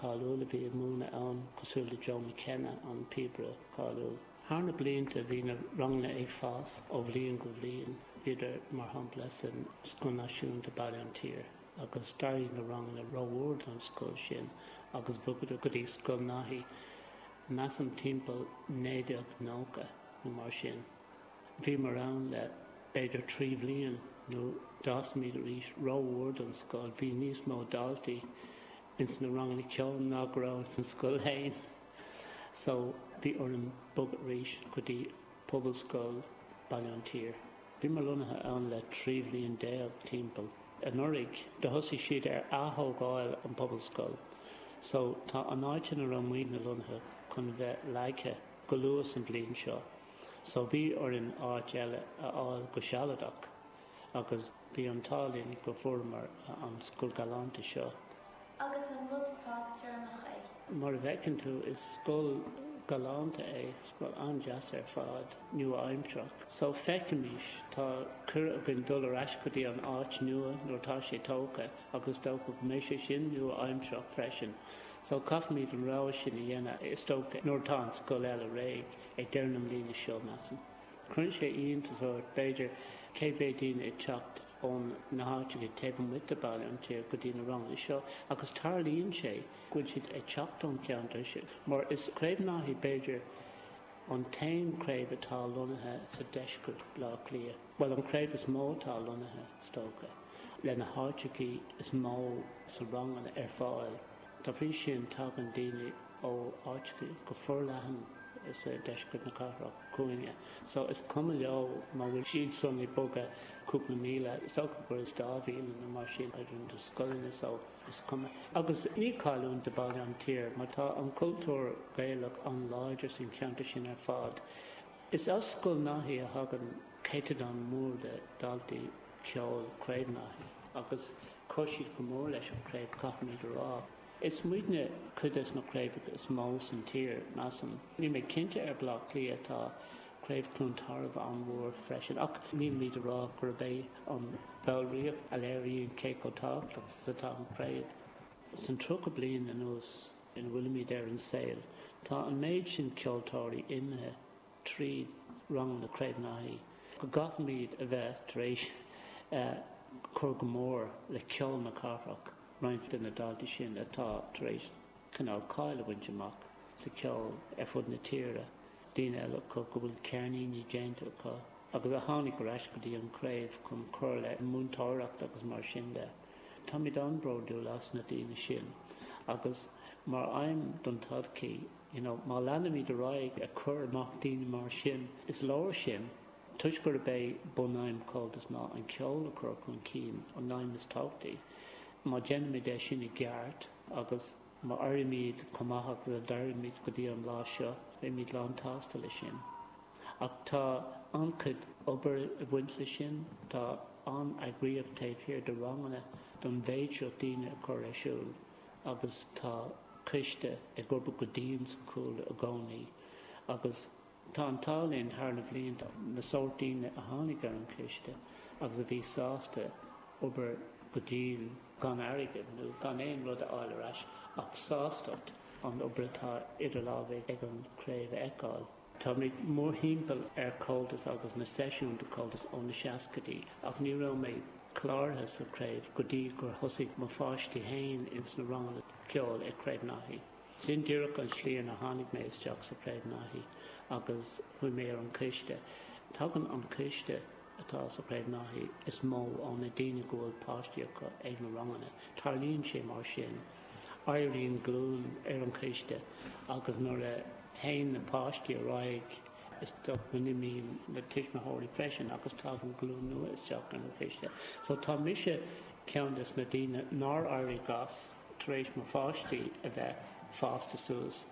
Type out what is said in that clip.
cáiliúil a bhí ag múineadh ann, cosúil le Joe McKenna, an píobaire cáiliúil. Thar na blianta bhí na ranganna ag fás ó bhliain go bhliain. Bhíodar, mar shampla, san Scoil Náisiúnta Baile an tSaoir agus d'éirigh na ranganna rómhór don scoil sin agus bhogadar go dtí Scoil Naithí, measaim timpeall 1990 nó mar sin. Bhíomar ann le b'fhéidir 3 bhliain nó d'fhásamid arís rómhór don scoil, bhí níos mó daltaí ins na ranganna ceoil ná go raibh ins an scoil fhéin. So bhí orainn bogadh arís go dtí Pobalscoil Baile an tSaoir. Bhíomar lonnaithe ann le 13 bhliain timpeall. Anuraidh do thosaigh siad ar ath-thógáil an Pobalscoil so tá an áit ina raibh muidne lonnaithe chun bheith leagtha go luath san bhliain seo. So bhí orainn áit eile a fháil go sealadach agus bhí an t-ádh linn go bhfuaireamar an scoil galánta seo. Agus an rud fadtéarmach é? Mar a bhfeiceann tú is scoil galánta é, scoil an-deas ar fad, nua-aimsearach. So feicfimís, tá cuireadh againn dul ar ais go dtí an áit nua nuair atá sé tógtha agus is dócha go mbeidh sé sin nua-aimsearach freisin. So caithfimid an rogha sin a dhéanamh is dócha nuair atá an scoil eile réidh. Ag deireadh na mbliana seo, measaim. Cuireann sé iontas ort, b'fhéidir, cé mhéad daoine ag teacht ó na háiteacha taobh amuigh de Baile an tSaoir go dtí na ranganna seo agus tarlaíonn sé go bhfuil siad ag teacht ón cheantar sin mar is Craobh Naithí b'fhéidir an t-aon chraobh atá lonnaithe sa deisceart Baile Átha Cliath, bhuel an chraobh is mó atá lonnaithe is dócha, le na háiteachaí is mó sa ranganna ar fáil. Dá bhrí sin tagann daoine ó áiteacha go forleathan sa deisceart na cathrach chugainne. So is cuma leo má bhfuil siad san ag bogadh cúpla míle, is dócha gur is dá mhíle nó mar sin idir na scoileanna so is cuma. Agus ní cailliúint do Baile an tSaoir mar tá an cultúr Gaelach an-láidir san cheantar sin ar fad. Is as Scoil Naithí a thagann céatadán mór de dhaltaí ceoil Craobh Naithí agus chuir siad go mór leis an chraobh caithfimid a rá. Is muidne cuid des na craobhacha is mó san tír, measaim. Níl mé cinnte ar Bleá Cliath, tá Craobh Cluain Tarbh an-mhór freisin, ach nílimid a rá gurb é an bhallraíocht a léiríonn cé chomh tábhachtach is atá an chraobh. San 30 bliain anuas ina bhfuilimid ar an saol, tá an méid sin ceoltóirí imithe tríd ranganna Craobh Naithí go gcaithfimid a bheith tar éis cur go mór le ceol na cathrach. roinnt de na daltaí sin atá tar éis cineál cáil a bhaint amach sa cheol ar fud na tíre, daoine eile acu go bhfuil ceirníní déanta acu agus a tháinig ar ais go dtí an chraobh chun cur le múinteoireacht agus mar sin de. Táimid an-bhródúil as na daoine sin agus mar aidhm don todhchaí, you know, má leanaimid ar aghaidh ag cur amach daoine mar sin, is leor sin. Toisc gurb é bunaidhm Comhaltas ná an ceol a chur chun cinn, an aidhm is tábhachtaí, má dhéanaimid é sin i gceart agus má éirímid chomh maith agus a d'éirímid go dtí an lá seo, beimid lán-tsásta leis sin. Ach tá an-chuid obair ag baint leis sin, tá an-eagraíocht taobh thiar de ranganna don mhéid seo daoine a chur ar siúl agus tá coiste ag obair go dian sa chúlra i gcónaí agus Tá an t-ádh linn thar na bhlianta na sórt daoine a tháinig ar an choiste agus a bhí sásta obair go dian gan airgead nó gan aon rud a fháil ar ais ach sástacht an obair atá idir lámha ag an chraobh a fheiceáil. Táimid mórthimpeall ar Comhaltas agus na seisiúin de Comhaltas ó na seascaidí ach ní raibh mé cláraithe sa chraobh go dtí gur thosaigh mo pháistí féin ins na ranganna ceoil ag Craobh Naithí. Sin díreach an tslí ina tháinig mé isteach sa Chraobh Naithí agus chuaigh mé ar an choiste. Tagann an coiste atá sa Chraobh Naithí is mó ó na daoine go bhfuil páistí acu ag na ranganna. Tarlaíonn sé mar sin. Éiríonn glúin ar an choiste agus nuair a théann na páistí ar aghaidh is dócha go n-imíonn na tuismitheoirí freisin agus tagann glúin nua isteach ar an choiste. So tá mise ceann des na daoine nár éirigh as. tar éis mo pháistí a bheith fásta suas.